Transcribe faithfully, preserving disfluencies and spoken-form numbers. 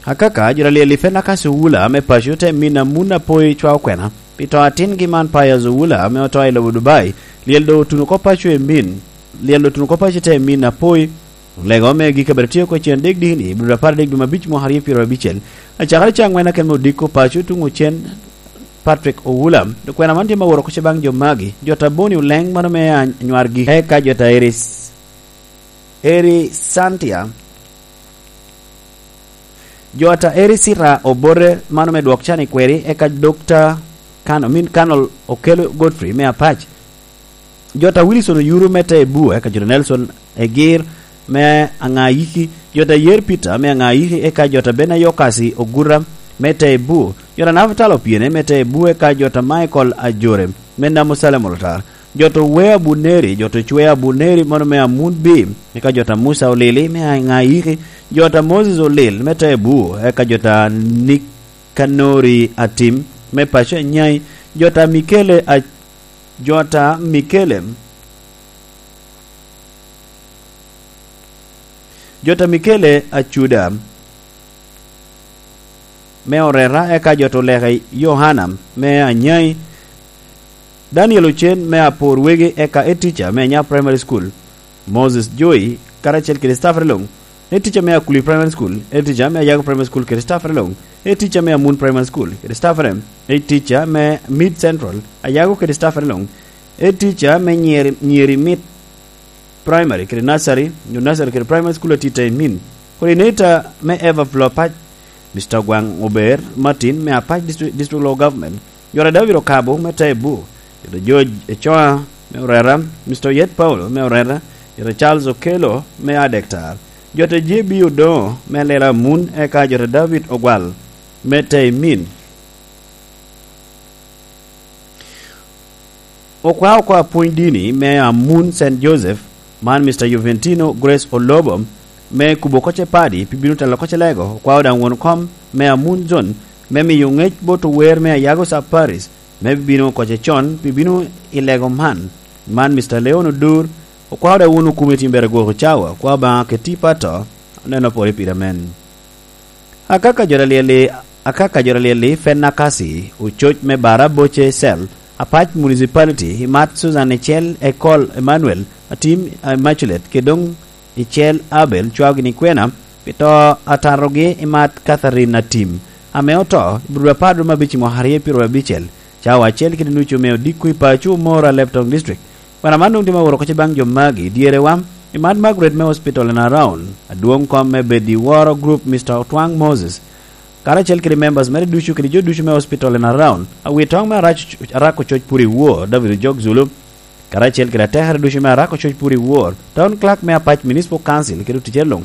Akaka, jo a lyel i Fenakasi Owula ame paco te min a mun apoi cwa okwena pi to atingi man Pius Owula ame oto i lobo Dubai. Lyel doŋ otuno oko paco i min, lyel doŋ otuno oko paco te min apoi. Lego me gik abiro tye oko cen dek dini, ibiro apar dek dwe abic mwaka aryo pyero abicel. Acakere ca angwen aken me odiko paco tuŋ ocen Patrick Owula. Okwena man tye ma woro oko ce baŋ jo magi, jo ta Boni Oleng mano me anywargi, eka jo ta Eris, Eri Santia, jo ta Eri Sira Obote mano me dwok can i kweri, eka Dokta Kano, min Kano Okello Godfrey me Apac. Jo ta Wilson Oyuru me te Ebu, eka jo ta Nelson Egir me Aŋayiki, jo ta Yer Peter me Aŋayiki, eka jo ta Benayokasi Ogura me te Ebu, jo ta Naftali Opiene me te Ebu, eka jo ta Michael Ajore me Namusalem Olotar, jo ta Wea Buneri, jo ta Cwea Buneri mano me Amun Bim, eka jo ta Musa Olili me Aŋayiki, jo ta Moses Olil me te Ebu, eka jo ta Nikanori Atim me paco Anyai, jo ta Mikele a-, jo ta Mikele, jo ta Mikele Acuda me Oreta, eka jo ta Oleka Yohana me Anyai, Daniel Ocen me Apor Wegi, eka Ed Teacher me Anya Primary School, Moses Joy, karacel kede staffere luŋ, Ed Teacher me Akuli Primary School, Ed Teacher me Ayago Primary School kede staffere luŋ, Ed Teacher me Amun Primary School kede staffere, Ed Teacher me Mid Central, Ayago kede staffere luŋ, Ed Teacher me Nyeri, Nyeri Mid Primary kede Nursery, nyo Nursery kede Primary School atite i Min, Coordinator me Everflow Apac, Mister Ogwaŋ Ober Martin me Apac District, District Local Government, jo ta David Okabo me Tebu, jo ta George Ecoa me Oreta, Mister Oyet Paulo me Oreta, jo ta Charles Okello me Adektar, jo ta J B Odoŋo me Lela Amun, eka jo ta David Ogwal me Teimin. Okwa oko apwony dini me Amun Saint Joseph, man Mister Juventino Grace Olobo, me kubo oko ce padi pi bino telo oko ce lego, okwao daŋ won kom me Amun Zone me miyo ŋec bot ower me Ayago Sub Parish me bino oko ce con pi bino i lego man. Man Mister Leon Odur, okwao daŋ won okume i tim bere gwoko cawa, okwao Obaŋa keti pato, oneno pore pire men. Akaka jo ta lyel i, akaka jo ta lyel i Fenakasi, ococ me Bara Boche Cell, Apac Municipality, i mat Susan Ecel, Ekol Emmanuel, Atim Immaculate, kede doŋ Ecel Abel, cwao gini kwena pi to atatogi i mat Catherine Atim, ame oto i Budwapar dwe me abic i mwaka aryo pyero abicel, cawa acel kede nucu me odiko i paco Omoro, Alebtong District. Kwena man doŋ tye ma woro oko ce baŋ jo magi, dyerewa, i Mad Margaret me Hospital and Around, adwoŋ kom me bed i Woro Group, Mister Otwaŋ Moses, karacel kede members mere ducu kede jo ducu me Hospital and Around, awitoŋ me Arac-, Arako Coc Puri Wor, David Ojok Zulu, karacel kede atekere ducu me Arako Coc Puri Wor, Town Clerk me Apac Municipal Council kede oticere luŋ,